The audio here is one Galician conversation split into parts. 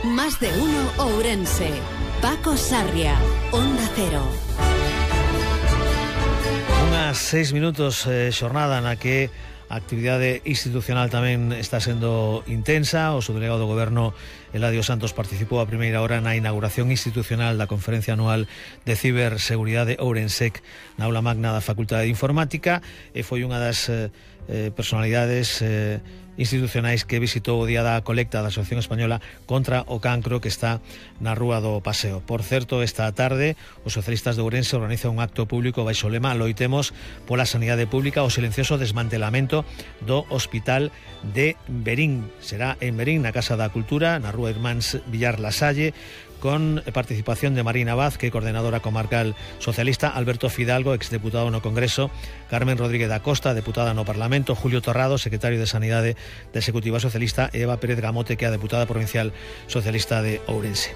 Más de uno Ourense. Paco Sarria, Onda Cero. Unhas 6 minutos, xornada na que a actividade institucional tamén está sendo intensa. O subdelegado do Goberno, Eladio Santos, participou a primeira hora na inauguración institucional da conferencia anual de ciberseguridade Ourensec na aula magna da Facultade de Informática, e foi unha das personalidades institucionais que visitou o día da colecta da Asociación Española contra o Cancro, que está na Rúa do Paseo. Por certo, esta tarde os socialistas de Ourense organizan un acto público baixo o lema "Loitemos pola sanidade pública", o silencioso desmantelamento do Hospital de Verín. Será en Verín, na Casa da Cultura, na Rúa Irmáns Villar Lasalle, con participación de Marina Vaz, que é coordinadora comarcal socialista, Alberto Fidalgo, exdeputado no Congreso, Carmen Rodríguez da Costa, deputada no Parlamento, Julio Torrado, secretario de Sanidade da Executiva Socialista, e Eva Pérez Gamote, que é a deputada provincial socialista de Ourense.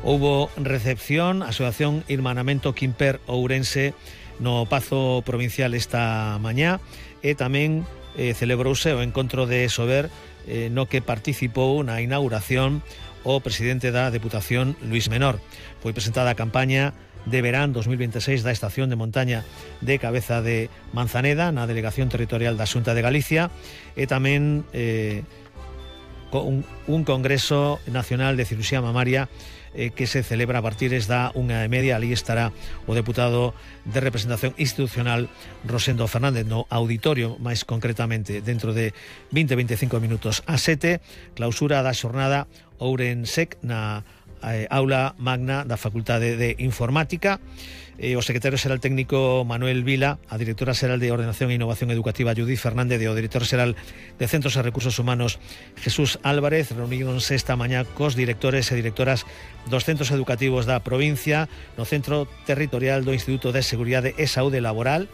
Houbo recepción, asociación Irmanamento Quimper Ourense no Pazo Provincial esta mañá, e tamén celebrouse o encontro de Sober, no que participou na inauguración o presidente da Deputación, Luís Menor. Foi presentada a campaña de verán 2026 da estación de montaña de Cabeza de Manzaneda na Delegación Territorial da Xunta de Galicia, e tamén un Congreso Nacional de Cirurxía Mamaria que se celebra a partir da 1:30. Ali estará o deputado de representación institucional Rosendo Fernández no auditorio, máis concretamente dentro de 20-25 minutos. A 7, clausura da xornada Ourensec na aula magna da Facultade de Informática. O secretario xeral técnico Manuel Vila, a directora xeral de Ordenación e Innovación Educativa Judith Fernández e o director xeral de Centros e Recursos Humanos Jesús Álvarez reuníronse esta mañá cos directores e directoras dos centros educativos da provincia no Centro Territorial do Instituto de Seguridade e Saúde Laboral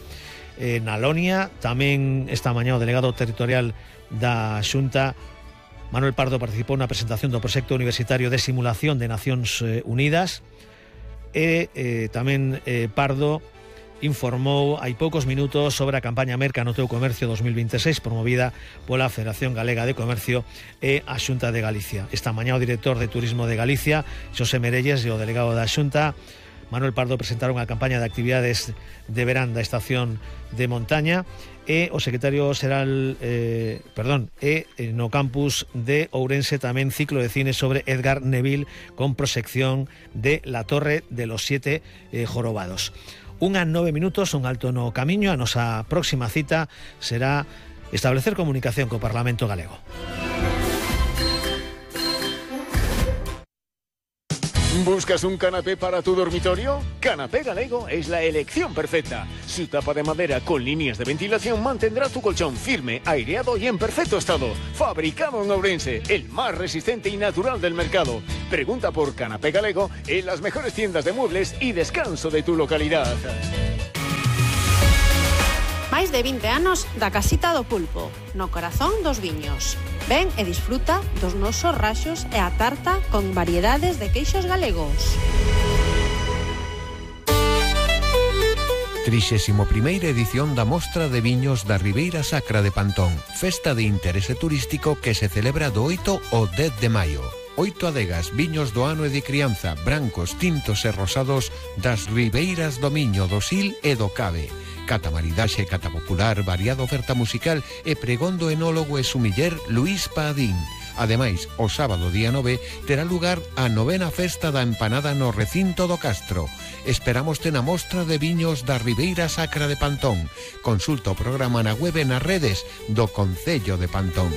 na Lonia. Tamén esta mañá o delegado territorial da Xunta, Manuel Pardo, participou na presentación do proxecto universitario de simulación de Nacións Unidas, e tamén Pardo informou hai poucos minutos sobre a campaña Merca no teu comercio 2026 promovida pola Federación Galega de Comercio e a Xunta de Galicia. Esta mañá o director de Turismo de Galicia, Xosé Merelles, e o delegado da Xunta, Manuel Pardo, presentaron a campaña de actividades de verán da estación de montaña, e o secretario xeral no campus de Ourense tamén ciclo de cine sobre Edgar Neville con proxección de La Torre de los Siete Jorobados. 1:09 minutos, un alto no camiño. A nosa próxima cita será establecer comunicación co Parlamento Galego. ¿Buscas un canapé para tu dormitorio? Canapé Galego es la elección perfecta. Su tapa de madera con líneas de ventilación mantendrá tu colchón firme, aireado y en perfecto estado. Fabricado en Ourense, el más resistente y natural del mercado. Pregunta por Canapé Galego en las mejores tiendas de muebles y descanso de tu localidad. Máis de 20 anos da Casita do Pulpo, no corazón dos viños. Ven e disfruta dos nosos raxos e a tarta con variedades de queixos galegos. 31ª edición da Mostra de Viños da Ribeira Sacra de Pantón, festa de interese turístico que se celebra do 8 ao 10 de maio. 8 adegas, viños do ano e de crianza, brancos, tintos e rosados das ribeiras do Miño, do Sil e do Cabe. Cata maridaxe, cata popular, variada oferta musical e pregón do enólogo e sumiller Luís Padín. Ademais, o sábado día 9 terá lugar a 9ª festa da empanada no recinto do Castro. Esperámoste na Mostra de Viños da Ribeira Sacra de Pantón. Consulta o programa na web e nas redes do Concello de Pantón.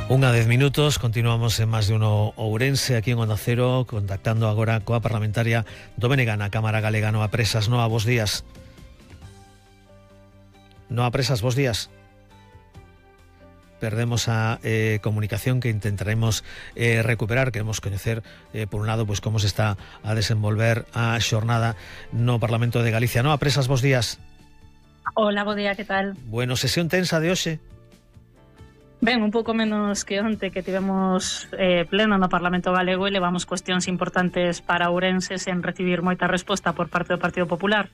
1:10 minutos, continuamos en Más de uno Ourense, aquí en Onda Cero, contactando agora coa parlamentaria do BNG na Cámara Galega. Noa Presas, Noa, bos días. Noa Presas, bos días. Perdemos a comunicación que intentaremos recuperar. Queremos coñecer, por un lado, pues como se está a desenvolver a xornada no Parlamento de Galicia. Noa Presas, bos días. Hola, bo día, que tal? Bueno, sesión tensa de hoxe. Ben, un pouco menos que onte, que tivemos pleno no Parlamento Galego e levamos cuestións importantes para Ourense sen recibir moita resposta por parte do Partido Popular.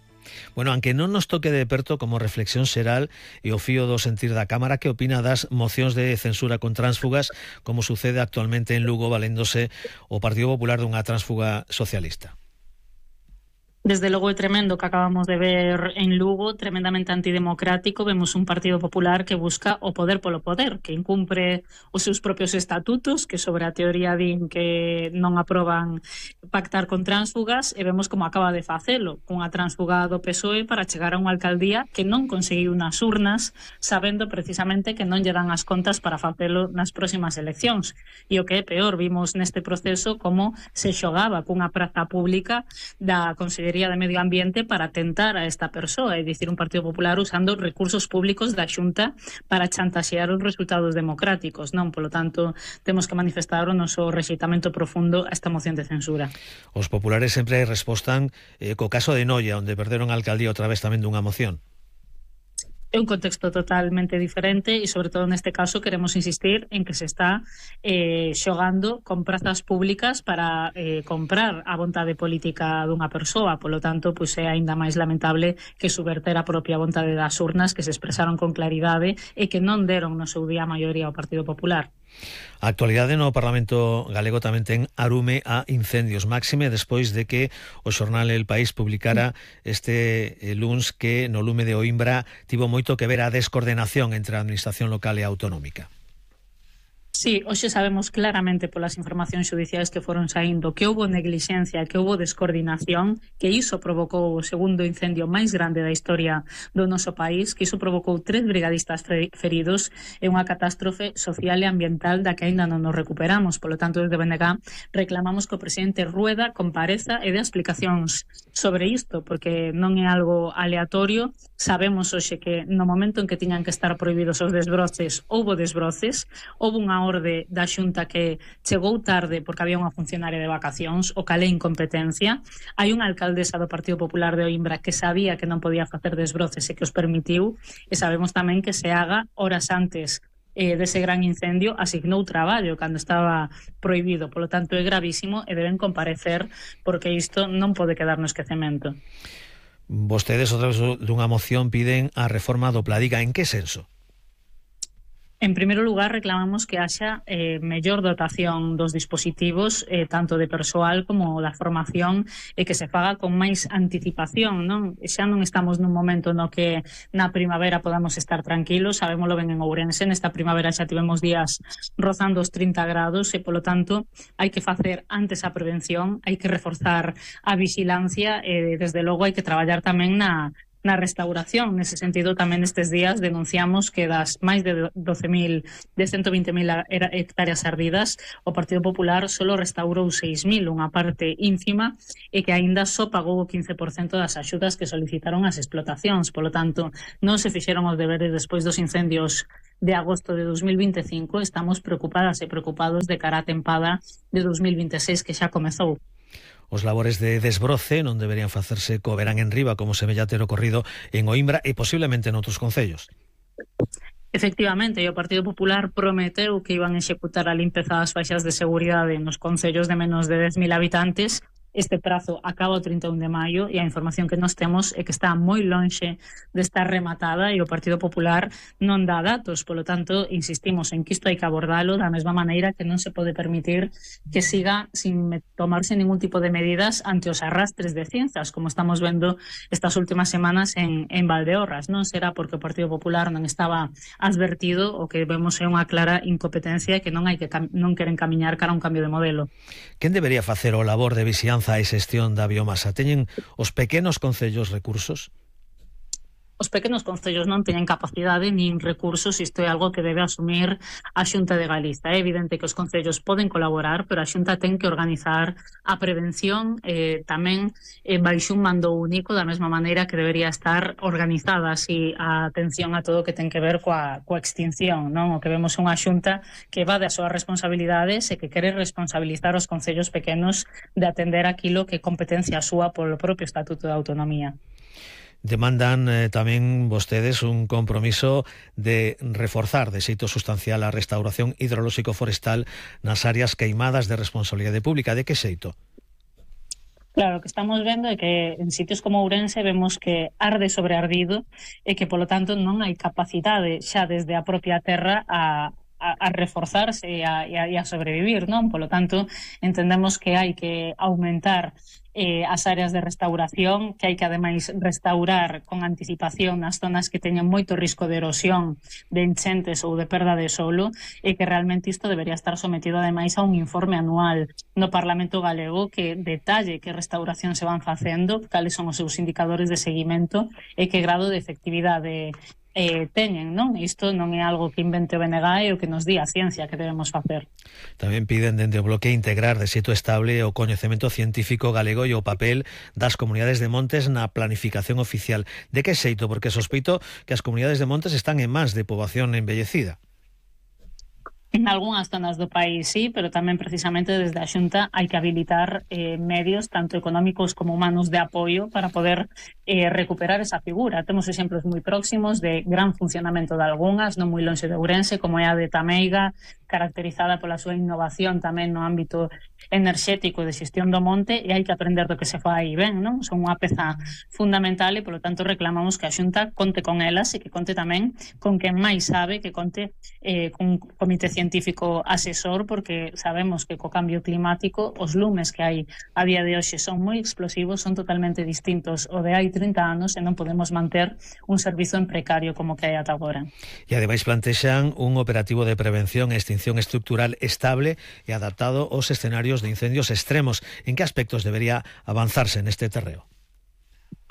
Bueno, aunque non nos toque de perto como reflexión xeral e o fío do sentir da Cámara, que opina das mocións de censura con tránsfugas, como sucede actualmente en Lugo, valéndose o Partido Popular dunha tránsfuga socialista? Desde logo é tremendo que acabamos de ver en Lugo, tremendamente antidemocrático. Vemos un Partido Popular que busca o poder polo poder, que incumpre os seus propios estatutos, que sobre a teoría din que non aproban pactar con tránsfugas, e vemos como acaba de facelo, cunha tránsfuga do PSOE para chegar a unha alcaldía que non conseguiu nas urnas, sabendo precisamente que non lle dan as contas para facelo nas próximas eleccións. E o que é peor, vimos neste proceso como se xogaba cunha praza pública da Consellería de Medio Ambiente para tentar a esta persoa, é dicir, un Partido Popular usando recursos públicos da Xunta para chantaxear os resultados democráticos, non? Polo tanto, temos que manifestar o noso rexeitamento profundo a esta moción de censura. Os populares sempre respostan co caso de Noia, onde perderon a alcaldía outra vez tamén dunha moción. É un contexto totalmente diferente e, sobre todo, neste caso, queremos insistir en que se está xogando con prazas públicas para comprar a vontade política dunha persoa. Polo tanto, pois é aínda máis lamentable que subverter a propia vontade das urnas, que se expresaron con claridade e que non deron no seu día a maioría ao Partido Popular. A actualidade no Parlamento galego tamén ten arume a incendios, máxime despois de que o xornal El País publicara este luns que no lume de Oimbra tivo moito que ver a descoordenación entre a administración local e a autonómica. Sí, hoxe sabemos claramente polas informacións xudiciais que foron saindo que houbo neglixencia, que houbo descoordinación, que iso provocou o segundo incendio máis grande da historia do noso país, que iso provocou 3 brigadistas feridos e unha catástrofe social e ambiental da que aínda non nos recuperamos. Polo tanto, desde BNG reclamamos que o presidente Rueda compareza e dé explicacións sobre isto, porque non é algo aleatorio. Sabemos hoxe que no momento en que tiñan que estar prohibidos os desbroces, houbo desbroces, houbo unha orde da Xunta que chegou tarde porque había unha funcionaria de vacacións, o cal é incompetencia. Hai unha alcaldesa do Partido Popular de Oimbra que sabía que non podía facer desbroces e que os permitiu, e sabemos tamén que Seaga, horas antes dese gran incendio, asignou traballo cando estaba prohibido. Polo tanto, é gravísimo e deben comparecer, porque isto non pode quedar no esquecemento. Vostedes, outra vez dunha moción, piden a reforma do Pladiga. En que senso? En primeiro lugar, reclamamos que haxa mellor dotación dos dispositivos, tanto de persoal como da formación, e que se faga con máis anticipación, non? Xa non estamos nun momento no que na primavera podamos estar tranquilos, sabémoslo ben en Ourense, nesta primavera xa tivemos días rozando os 30 grados e, polo tanto, hai que facer antes a prevención, hai que reforzar a vixilancia e, desde logo, hai que traballar tamén na restauración. Nese sentido, tamén estes días denunciamos que das máis de 120.000 hectáreas ardidas, o Partido Popular solo restaurou 6.000, unha parte ínfima, e que aínda só pagou o 15% das axudas que solicitaron as explotacións. Polo tanto, non se fixeron os deberes despois dos incendios de agosto de 2025. Estamos preocupadas e preocupados de cara á tempada de 2026 que xa comezou. Os labores de desbroce non deberían facerse co verán en riba, como se vella ter ocorrido en Oimbra e posiblemente en outros concellos. Efectivamente, o Partido Popular prometeu que iban a executar a limpeza das faixas de seguridade nos concellos de menos de 10.000 habitantes. Este prazo acaba o 31 de maio e a información que nos temos é que está moi lonxe de estar rematada e o Partido Popular non dá datos. Polo tanto, insistimos en que isto hai que abordalo da mesma maneira que non se pode permitir que siga sin tomarse ningún tipo de medidas ante os arrastres de cinzas, como estamos vendo estas últimas semanas en Valdeorras. Non será porque o Partido Popular non estaba advertido, o que vemos é unha clara incompetencia que non queren camiñar cara a un cambio de modelo. Quen debería facer o labor de vixianza e xestión da biomasa? Teñen os pequenos concellos recursos? Os pequenos concellos non teñen capacidade nin recursos, isto é algo que debe asumir a Xunta de Galiza. É evidente que os concellos poden colaborar, pero a Xunta ten que organizar a prevención tamén baixo un mando único, da mesma maneira que debería estar organizada así a atención a todo o que ten que ver coa extinción, non? O que vemos é unha Xunta que va das súas responsabilidades e que quere responsabilizar os concellos pequenos de atender aquilo que é competencia súa polo propio Estatuto de Autonomía. Demandan tamén vostedes un compromiso de reforzar de xeito sustancial a restauración hidrolóxico forestal nas áreas queimadas de responsabilidade pública. De que xeito? Claro, o que estamos vendo é que en sitios como Ourense vemos que arde sobre ardido e que, polo tanto, non hai capacidade xa desde a propia terra a reforzarse e a sobrevivir, non? Polo tanto, entendemos que hai que aumentar as áreas de restauración, que hai que ademais restaurar con anticipación nas zonas que teñen moito risco de erosión, de enchentes ou de perda de solo, e que realmente isto debería estar sometido ademais a un informe anual no Parlamento galego que detalle que restauración se van facendo, cales son os seus indicadores de seguimento e que grado de efectividade teñen, non? Isto non é algo que invente o BNG e o que nos di a ciencia que debemos facer. Tamén piden dende o bloque integrar de xeito estable o coñecemento científico galego e o papel das comunidades de montes na planificación oficial. De que xeito? Porque sospeito que as comunidades de montes están en mans de poboación envellecida. En algunhas zonas do país sí, pero tamén precisamente desde a Xunta hai que habilitar medios tanto económicos como humanos de apoio para poder recuperar esa figura. Temos exemplos moi próximos de gran funcionamento de algunhas, non moi lonxe de Ourense, como é a de Tameiga, caracterizada pola súa innovación tamén no ámbito enerxético de xestión do monte, e hai que aprender do que se fai ben, non? Son unha peza fundamental e, polo tanto, reclamamos que a Xunta conte con elas e que conte tamén con quen máis sabe, que conte con un comité científico asesor, porque sabemos que co cambio climático os lumes que hai a día de hoxe son moi explosivos, son totalmente distintos ao de hai 30 anos e non podemos manter un servizo en precario como que hai ata agora. E ademais plantexan un operativo de prevención e extinción estructural estable e adaptado aos escenarios de incendios extremos. En que aspectos debería avanzarse neste terreo?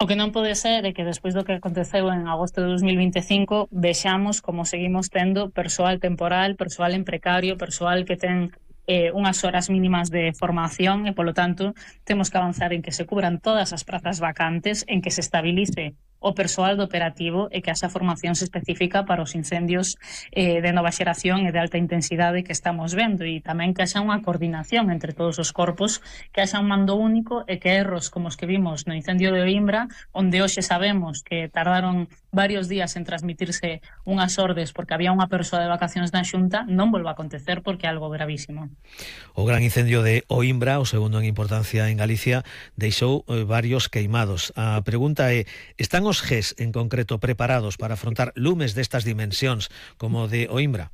O que non pode ser é que despois do que aconteceu en agosto de 2025 vexamos como seguimos tendo persoal temporal, persoal en precario, persoal que ten unhas horas mínimas de formación e, polo tanto, temos que avanzar en que se cubran todas as prazas vacantes, en que se estabilice o persoal do operativo e que haxa formación específica para os incendios de nova xeración e de alta intensidade que estamos vendo, e tamén que haxa unha coordinación entre todos os corpos, que haxa un mando único e que erros como os que vimos no incendio de Oimbra, onde hoxe sabemos que tardaron varios días en transmitirse unhas ordes porque había unha persoa de vacacións na Xunta, non volva a acontecer porque é algo gravísimo. O gran incendio de Oimbra, o segundo en importancia en Galicia, deixou varios queimados. A pregunta é, están os GES en concreto preparados para afrontar lumes destas dimensións como o de Oimbra?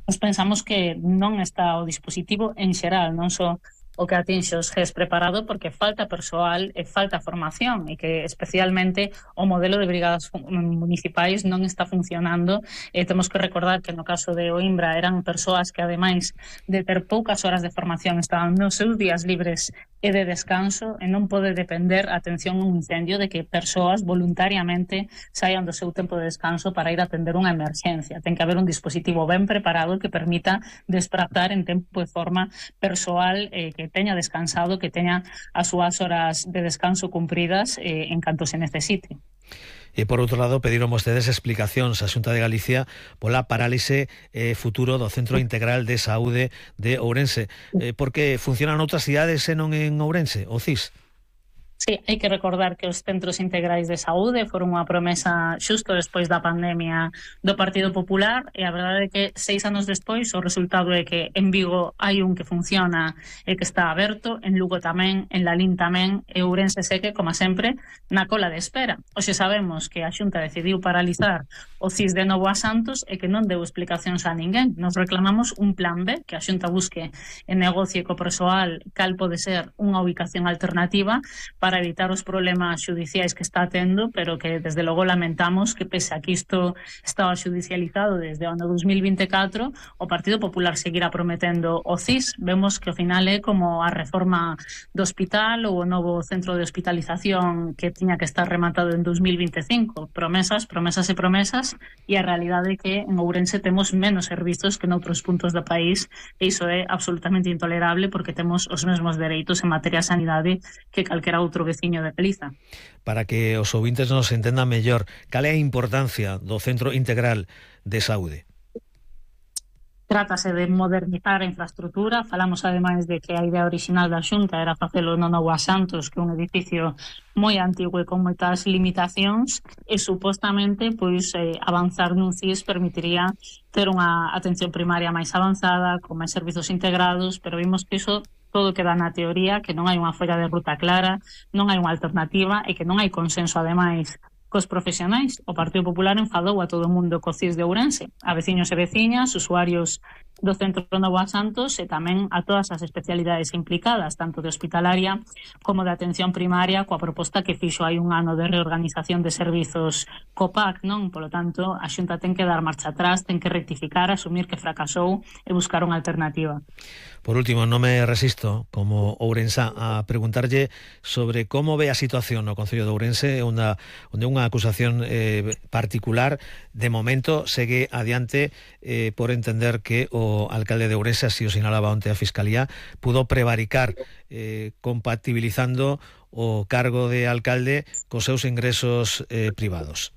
Nos pensamos que non está o dispositivo en xeral, non só o que atinxe os GES preparado, porque falta persoal e falta formación, e que especialmente o modelo de brigadas municipais non está funcionando. Temos que recordar que no caso de Oimbra eran persoas que, ademais de ter poucas horas de formación, estaban nos seus días libres e de descanso, e non pode depender, atención, un incendio, de que persoas voluntariamente saian do seu tempo de descanso para ir a atender unha emerxencia. Ten que haber un dispositivo ben preparado que permita desprazar en tempo e forma persoal que teña descansado, que teña as súas horas de descanso cumpridas en canto se necesite. E, por outro lado, pediron vostedes explicacións á Xunta de Galicia pola parálise futuro do Centro Integral de Saúde de Ourense. Porque funcionan outras cidades e non en Ourense, o CIS? Sí, hai que recordar que os centros integrais de saúde foron unha promesa xusto despois da pandemia do Partido Popular, e a verdade é que 6 anos despois o resultado é que en Vigo hai un que funciona e que está aberto, en Lugo tamén, en Lalín tamén, e Ourense segue, como sempre, na cola de espera. Hoxe sabemos que a Xunta decidiu paralizar o CIS de Novo a Santos e que non deu explicacións a ninguén. Nos reclamamos un plan B, que a Xunta busque e negocie co persoal cal pode ser unha ubicación alternativa para evitar os problemas xudiciais que está tendo, pero que desde logo lamentamos que, pese a que isto estaba xudicializado desde o ano 2024, o Partido Popular seguirá prometendo o CIS. Vemos que ao final é como a reforma do hospital ou o novo centro de hospitalización que tiña que estar rematado en 2025. Promesas, promesas e promesas, e a realidade é que en Ourense temos menos servizos que noutros puntos do país, e iso é absolutamente intolerable porque temos os mesmos dereitos en materia de sanidade que calquera outro veciño de Galiza. Para que os ouvintes nos entendan mellor, cal é a importancia do Centro Integral de Saúde? Trátase de modernizar a infraestructura. Falamos ademais de que a idea original da Xunta era facelo no Novo a Santos, que é un edificio moi antigo e con moitas limitacións, e supostamente avanzar nun CIS permitiría ter unha atención primaria máis avanzada, con máis servizos integrados, pero vimos que iso todo queda na teoría, que non hai unha folla de ruta clara, non hai unha alternativa e que non hai consenso, ademais, cos profesionais. O Partido Popular enfadou a todo o mundo co CIS de Ourense, a veciños e veciñas, usuarios do Centro Novo a Santos e tamén a todas as especialidades implicadas, tanto de hospitalaria como de atención primaria, coa proposta que fixo hai un ano de reorganización de servizos COPAC, non? Polo tanto, a Xunta ten que dar marcha atrás, ten que rectificar, asumir que fracasou e buscar unha alternativa. Por último, non me resisto, como ourensá, a preguntarlle sobre como ve a situación no Concello de Ourense, onde unha acusación particular, de momento, segue adiante por entender que o alcalde de Ourense, así o sinalaba onte a Fiscalía, pudo prevaricar compatibilizando o cargo de alcalde cos seus ingresos privados.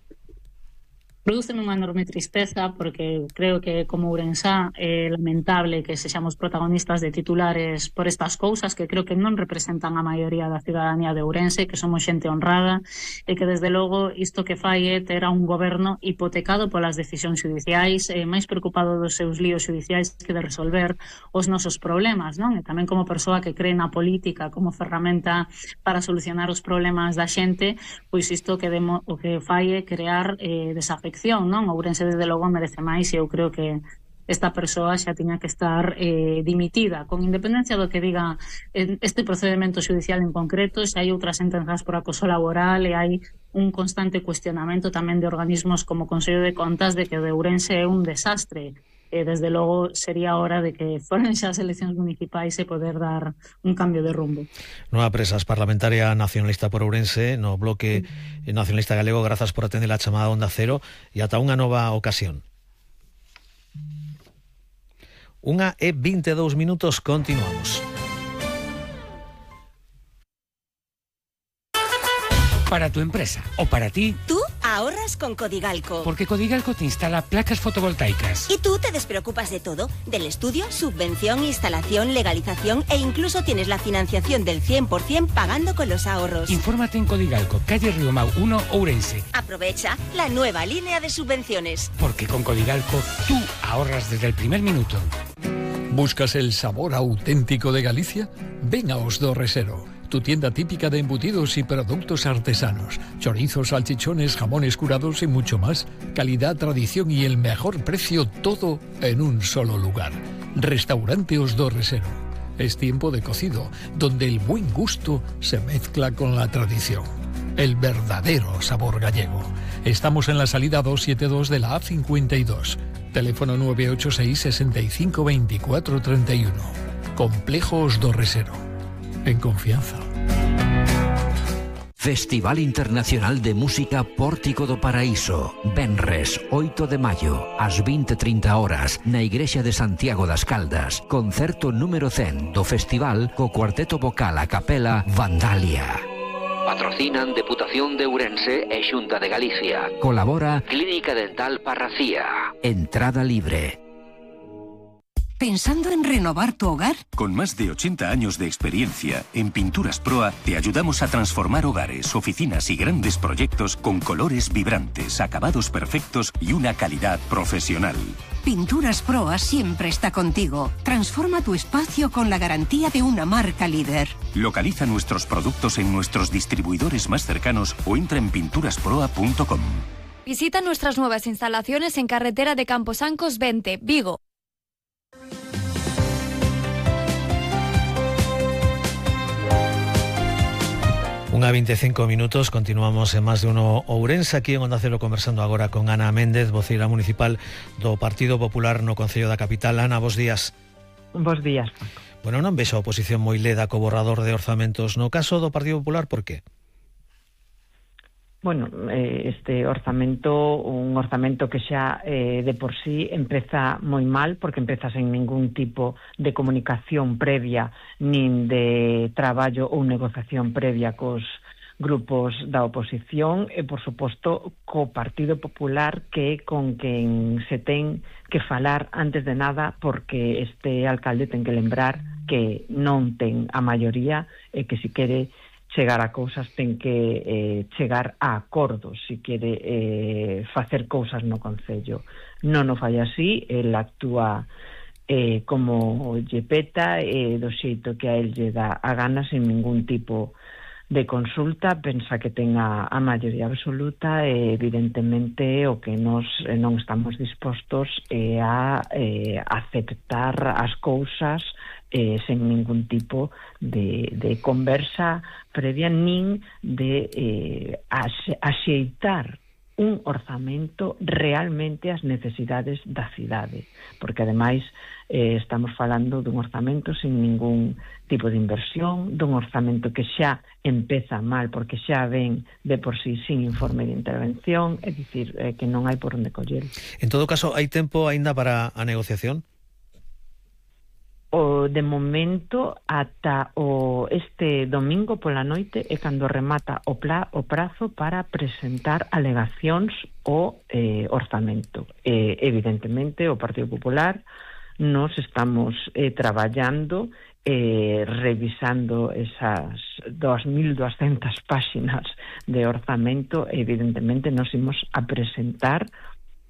Prodúceme unha enorme tristeza porque creo que como ourensá é lamentable que sexamos protagonistas de titulares por estas cousas que creo que non representan a maioría da ciudadanía de Ourense, que somos xente honrada e que desde logo isto que fai é ter a un goberno hipotecado polas decisións judiciais, máis preocupado dos seus líos judiciais que de resolver os nosos problemas, non? E tamén como persoa que cree na política como ferramenta para solucionar os problemas da xente, pois isto que o que fai é crear desafección, non? Ourense desde logo merece máis e eu creo que esta persoa xa tiña que estar dimitida, con independencia do que diga este procedimento judicial en concreto. Xa hai outras sentenzas por acoso laboral e hai un constante cuestionamento tamén de organismos como o Consello de Contas de que o de Ourense é un desastre. Desde logo sería hora de que foran xa as eleccións municipais e poder dar un cambio de rumbo. Nueva Presas, parlamentaria nacionalista por Ourense, no bloque nacionalista galego, grazas por atender a chamada Onda Cero e ata unha nova ocasión. 1:22, continuamos. Para tu empresa o para ti. Tú ahorras con Codigalco. Porque Codigalco te instala placas fotovoltaicas. Y tú te despreocupas de todo, del estudio, subvención, instalación, legalización e incluso tienes la financiación del 100% pagando con los ahorros. Infórmate en Codigalco, calle Riomau 1, Ourense. Aprovecha la nueva línea de subvenciones. Porque con Codigalco tú ahorras desde el primer minuto. ¿Buscas el sabor auténtico de Galicia? Ven a Os do Resero, tu tienda típica de embutidos y productos artesanos, chorizos, salchichones, jamones curados y mucho más. Calidad, tradición y el mejor precio, todo en un solo lugar. Restaurante Os do Resero. Es tiempo de cocido, donde el buen gusto se mezcla con la tradición. El verdadero sabor gallego. Estamos en la salida 272 de la A52. Teléfono 986 65 24 31. Complejo Os do Resero. En confianza. Festival Internacional de Música Pórtico do Paraíso. Venres, 8 de maio, ás 20:30 horas, na Igrexa de Santiago das Caldas. Concerto número 100 do festival co cuarteto vocal a capela Vandalia. Patrocinan Deputación de Ourense e Xunta de Galicia. Colabora Clínica Dental Parracía. Entrada libre. ¿Pensando en renovar tu hogar? Con más de 80 años de experiencia, en Pinturas Proa te ayudamos a transformar hogares, oficinas y grandes proyectos con colores vibrantes, acabados perfectos y una calidad profesional. Pinturas Proa siempre está contigo. Transforma tu espacio con la garantía de una marca líder. Localiza nuestros productos en nuestros distribuidores más cercanos o entra en pinturasproa.com. Visita nuestras nuevas instalaciones en carretera de Camposancos 20, Vigo. 1:25, continuamos en Más de Uno Ourense, aquí en Onda Cero, conversando agora con Ana Méndez, voceira municipal do Partido Popular no Concello da Capital. Ana, bos días. Bos días, Paco. Bueno, non vexo a oposición moi leda co borrador de orzamentos. No caso do Partido Popular, por qué? Bueno, este orzamento, un orzamento que xa de por sí empeza moi mal, porque empeza sen ningún tipo de comunicación previa, nin de traballo ou negociación previa cos grupos da oposición e, por suposto, co Partido Popular, que é con quen se ten que falar antes de nada, porque este alcalde ten que lembrar que non ten a maioría e que se quere chegar a cousas ten que chegar a acordos se quere facer cousas no Concello. Non o fai así, el actúa como lle peta do xeito que a él lle dá a gana, sin ningún tipo de consulta, pensa que ten a maioría absoluta, e evidentemente o que nos non estamos dispostos a aceptar as cousas sen ningún tipo de conversa previa, nin de axeitar un orzamento realmente ás necesidades da cidade, porque ademais estamos falando dun orzamento sin ningún tipo de inversión, dun orzamento que xa empeza mal porque xa ven de por sí sin informe de intervención, é dicir, que non hai por onde coller. En todo caso, hai tempo aínda para a negociación? De momento, ata este domingo pola noite é cando remata o prazo para presentar alegacións ao orzamento. Evidentemente, o Partido Popular nos estamos traballando, revisando esas 2.200 páxinas de orzamento. Evidentemente, nos imos a presentar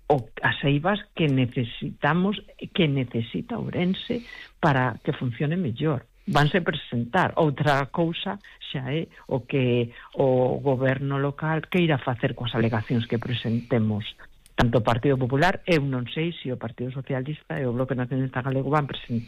as eivas que necesitamos, que necesita Ourense para que funcione mellor. Vanse presentar. Outra cousa xa é o que o goberno local queira facer coas alegacións que presentemos. Tanto o Partido Popular, eu non sei se o Partido Socialista e o Bloque Nacionalista Galego van presentar